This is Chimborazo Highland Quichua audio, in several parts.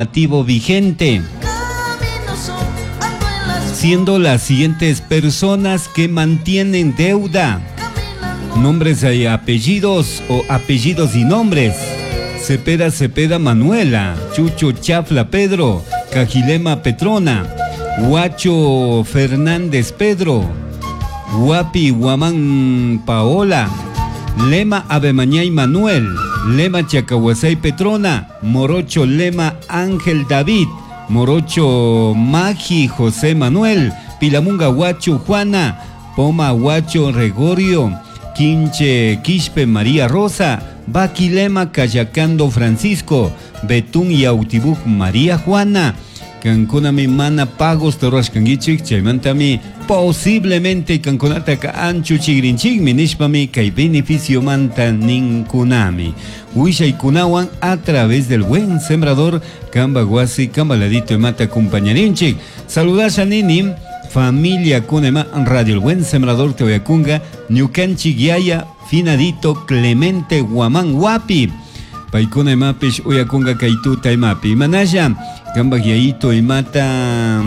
Normativo vigente. Siendo las siguientes personas que mantienen deuda. Nombres y apellidos o apellidos y nombres. Cepeda Cepeda Manuela, Chucho Chafla Pedro, Cajilema Petrona, Huacho Fernández Pedro, Guapi Guamán Paola, Lema Abemañay Manuel, Lema Chacahuasay Petrona, Morocho Lema Ángel David, Morocho Magi José Manuel, Pilamunga Huacho Juana, Poma Huacho Gregorio, Quinche Quispe María Rosa, Baquilema Cayacando Francisco, Betún Yautibuc María Juana, Kankunami mana pagos rurashkankichik chaymantami posiblemente kankunataka anchuchigrinchikmi nishpami kay beneficiomanta ninkunami. Willaykunawan a través del Buen Sembrador kamba wasi kamba ladito imata acompañarinchik. Saludasha nini familia kunema Radio El Buen Sembrador te ñukanchik yaya finadito Clemente Guamán Wapi. Paykuna imapish uyakunga kay tuta imapi. Imanalla kambaj yayito imata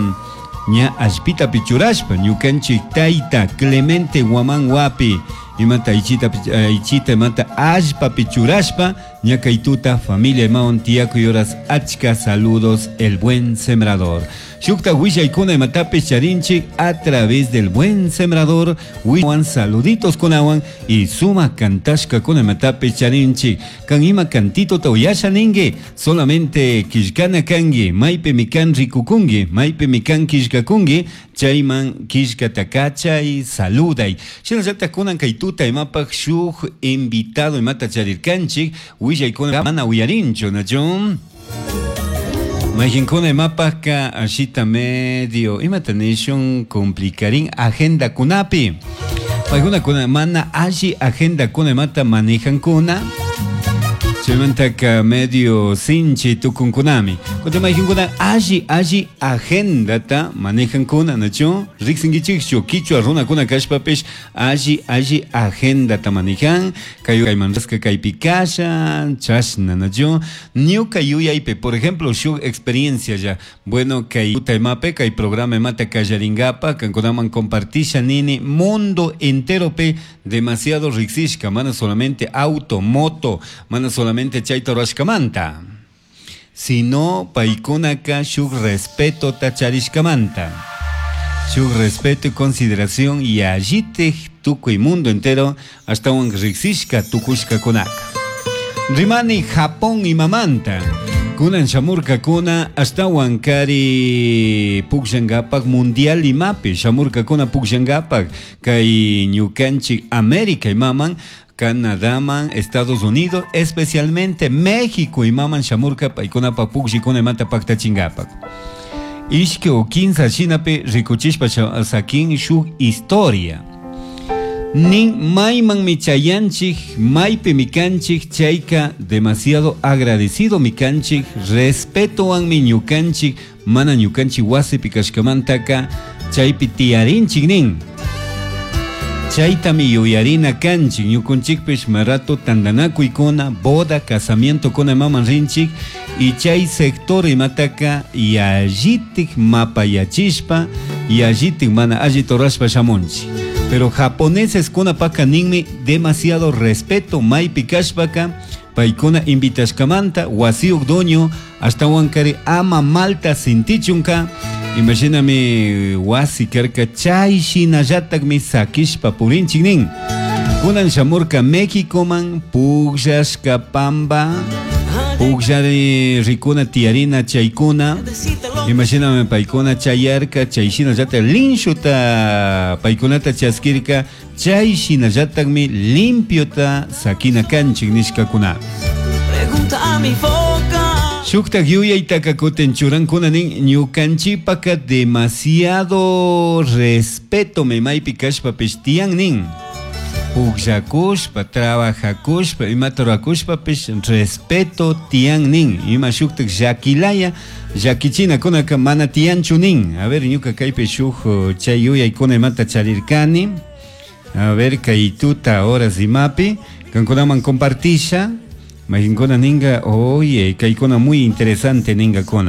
ña allpitapi churashpa ñukanchik tayta Clemente Guamán Wapi imata aychita aychita imata allpapi churashpa ña kay tuta familia imawan tiyakuy horas achka saludos El Buen Sembrador. Shukta willaykuna imatapish charinchik a través del Buen Sembrador wiwan saluditos kunawan y suma kantashkakuna imatapish charinchik. Kan ima cantito uyasha ningi solamente killkana kangi maypimi kan rikukungi maypimi kan killkakungi chayman killkata kachay saluday. Shinallatak kunan kay tuta imapaj shuk invitado imata charirkanchik willaykuna mana uyarinchu nachu. Mayqinkuna imapajka ashita medio imata nishun complicarin agenda kunapi. Paykuna kuna mana alli agenda kuna imata manejankuna. Chaymantaka medio sinchi tukunkunami. Kutin mayqinkuna alli alli agendata manejankuna nachu. Riqsinkichikchu kichwa runakuna kashpapish alli alli agendata manejan. Kay kayman kaypi kasha chashna nachu. Ñuka yuyaypi por ejemplo shuk experiencia ya. Bueno kay tuta imapi kay programa imata kallaringapa kankunaman compartisha nini mundo enteropi demasiado riqsishka mana solamente auto, moto, mana solamente chayta rurashkamanta, sino paykunaka shuk respeto charishkamanta. Shuk respeto y consideración y allitik tukuy mundo entero ashtawan riqsishka tukushkakunaka. Rimani Japón imamanta. Kunan shamurkakuna ashtawan kari pukllankapak mundial imapi shamurkakuna pukllankapak kay ñukanchik América imaman Canadaman, Estados Unidos, especialmente México imaman shamurka paykunapa pukllikuna imata paktachinkapak. Ishki o kinsa shinapi rikuchishpa sakin shuk historia. Nin mayman chayanchik, maypi mikanchik, chayka demasiado agradecido mikanchik, respetowanmi ñukanchik, mana ñukanchik wasipi kashkamantaka chaypi tiyarinchik nin. Chaytami yuyarina kanchik, ñukunchikpish marato tantanakuykuna, boda, casamiento kuna imaman rinchik, y chay sector imataka yallitik mapayachishpa, yallitik mana alli rurashpa shamunchik. Pero japoneses kunapaka ninmi demasiado respeto maypi kashpaka paykuna invitashkamanta wasiyuq dueño ashtawankari ama malta sintichunka. Imashinami wasi karka chay shinallatakmi sakishpa purinchik nin. Kunan shamurka Méxicoman pukllashka pamba pukllari rikuna tiyarina chaykuna. Imashinami paykuna chayarka chay shinallatak linshuta paykunata chaskirka chay shinallatakmi limpiota sakina kanchik nishkakuna. Pregunta a mi boca. Shuktak yuyaytaka kutin churankuna nin ñukanchipaka demasiado respeto me maypi kashpapish tiyan nin. Pukllakushpa, trabajakushpa, imata rurakushpapish respeto tiyan nin. Ima shuktak llakilaya, llakichinakunaka mana tiyanchu nin. A ver, ñuka kaypi shuk chay yuyaykuna imata charirkani. A ver, kay tuta horas imapi, kankunaman compartisha. Mayqinkuna ninqa, oye, kaykuna muy interesante ningakuna.